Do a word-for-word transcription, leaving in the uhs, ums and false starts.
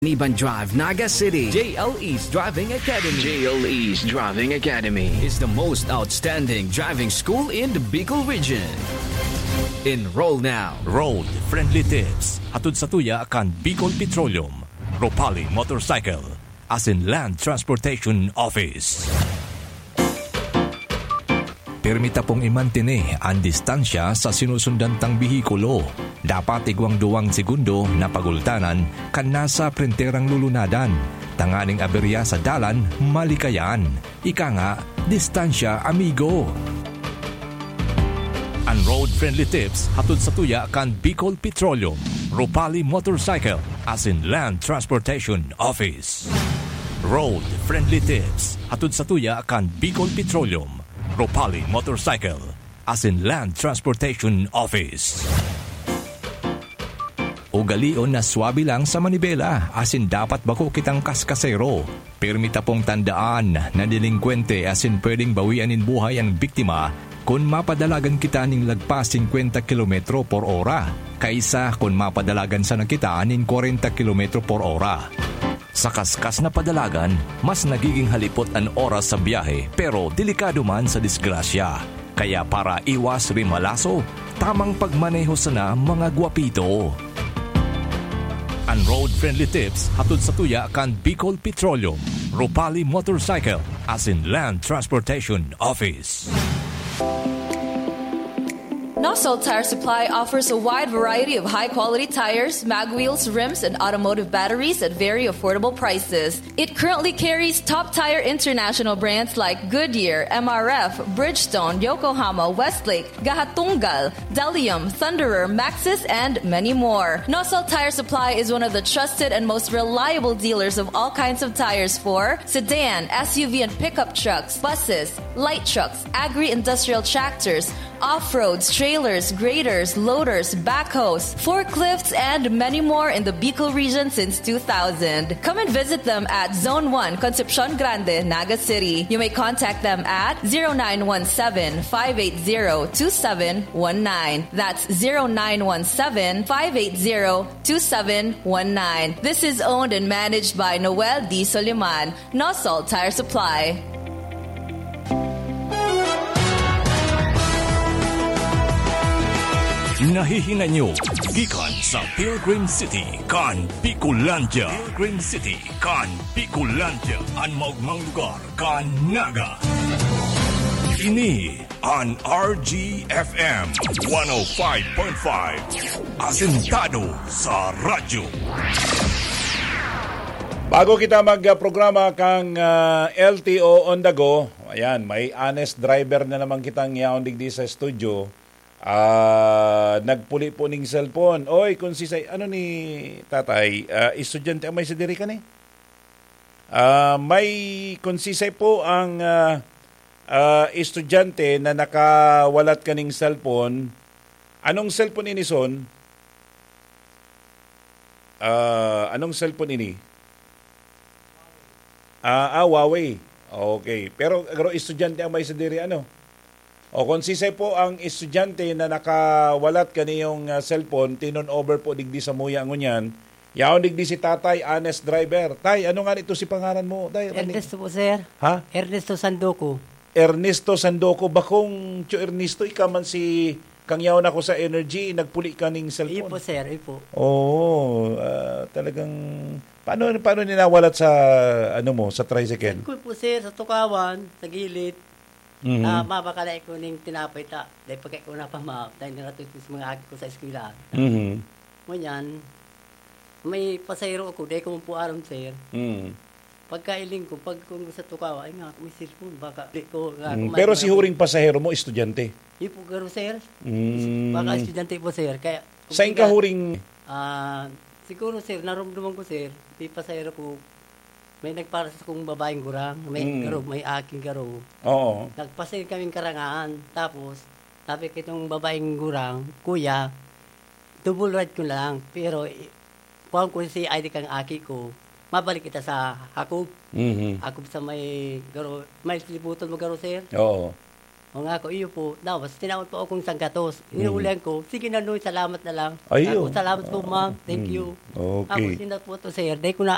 Niban Drive, Naga City. J L E's Driving Academy J L E's Driving Academy. is the most outstanding driving school in the Bicol region. Enroll now. Road Friendly Tips, hatod sa tuya kan Bicol Petroleum, Ropali Motorcycle, asin Land Transportation Office. Pirmi ta pong imantene an distansya sa sinusundan tang behikulo. Dapat igwang duwang segundo na pagultanan kan nasa prenterang lulunadan, tanganing aberya sa dalan malikayan. Ika nga, distansya, amigo. An road-friendly tips hatod sa tuya kan Bicol Petroleum, Ropali Motorcycle, asin Land Transportation Office. Road-friendly tips hatod sa tuya kan Bicol Petroleum, Ropali Motorcycle, asin Land Transportation Office. Ugalion na swabe lang sa manibela, asin dapat bako kitang kaskasero. Pirmi ta pong tandaan na delengkwente asin pwedeng bawian nin buhay an biktima kun mapadalagan kita nin lagpas singkwenta kilometro por ora, kaisa kun mapadalagan sana kita nin kwarenta kilometro por ora. Sa kaskas na padalagan, mas nagiging halipot an oras sa biyahe, pero delikado man sa disgrasya. Kaya para iwas rimalaso, tamang pagmaneho sana, mga gwapito. An road-friendly tips hatod sa tuya kan Bicol Petroleum, Ropali Motorcycle, asin Land Transportation Office. Nosol Tire Supply offers a wide variety of high-quality tires, mag wheels, rims, and automotive batteries at very affordable prices. It currently carries top tire international brands like Goodyear, M R F, Bridgestone, Yokohama, Westlake, Gahatunggal, Delium, Thunderer, Maxxis, and many more. Nosol Tire Supply is one of the trusted and most reliable dealers of all kinds of tires for sedan, S U V, and pickup trucks, buses, light trucks, agri-industrial tractors, off-roads, trailers, graders, loaders, backhoes, forklifts, and many more in the Bicol region since two thousand. Come and visit them at Zone one, Concepcion Grande, Naga City. You may contact them at zero nine one seven, five eight zero, two seven one nine. That's zero nine one seven, five eight zero, two seven one nine. This is owned and managed by Noel D. Soliman, Nosol Tire Supply. Nahihinay nyo gikan sa Pilgrim City kan Bicolandia. Pilgrim City kan Bicolandia, an maogmang lugar kan Naga. Ini an R G F M one oh five point five, asentado sa radyo. Bago kita magprograma kang, ah, L T O on the go, ayan, may honest driver na naman kitang yaon digdi sa studio. Ah, nagpuli po ning cellphone. Oy, konsisay, ano ni tatay? Ah, estudyante ang may sa diri ka ni? Ah, may konsisay po ang, ah, ah, estudyante na nakawalat kaning cellphone. Anong cellphone ini, son? Ah, anong cellphone ini? Ah, ah, Huawei. Okay. Pero, pero estudyante ang may sa diri, ano? O, konsisay po ang estudyante na nakawalat kaniyong, ah, cellphone, tinon over po digdi sa muya ngunyan. Yaon digdi si Tatay, honest driver. Tay, ano nga nito si pangaran mo, Tay? Rani? Ernesto po, sir. Ha? Ernesto Sandoco. Ernesto Sandoco. Bakong Tio Ernesto, ika man si kang yaon ako sa Energy, nagpuli ka ning Iyo cellphone. po, sir. Iyo po. Oo, ah, talagang, paano, paano ninawalat sa, ano mo, sa tricycle? Ko po, sir, sa tukawan, sa gilid. Mhm. Ah, mabakala ko ning tinapay ta. Dahil pagka ko napama, dahil naratos ko sa mga aki ko sa eskwela. Mhm. Ngunyan, may pasahero ako, dahil ko man po aram, sir. Mhm. Pagkailing ko, pag kung sa tukawa, ay nga, may cellphone, baka di ko, nga, Mm, kumain pero na si ako. huring pasahero mo, estudyante? Yun po, garo, sir. Mm. Baka estudyante po, sir. Kaya, Sain kumbaga, ka huring? Ah, siguro, sir, narumduman ko, sir, may pasahero ko, may nagpara sa kong babaeng gurang, may Mm. garo, may aking garo. Oo. Nagpasahil kaming karangaan. Tapos, sabi kitong babaeng gurang, "Kuya, double ride ko na lang, pero, eh, kuhaan ko si I D kang aki ko, mabalik kita sa Hakob." Mhm. Hakob sa may garo, may libutan mo garo, sir? Oo. O nga ako, iyo po. Tapos, tinawag po akong sanggatos. Mhm. Inuulihan ko, "Sige na, Noy, salamat na lang." Ay, Ako, oo. "Salamat po, ma'am. Thank Mm. you." Okay. Tapos, yun na po to, sir. Dahil ko na,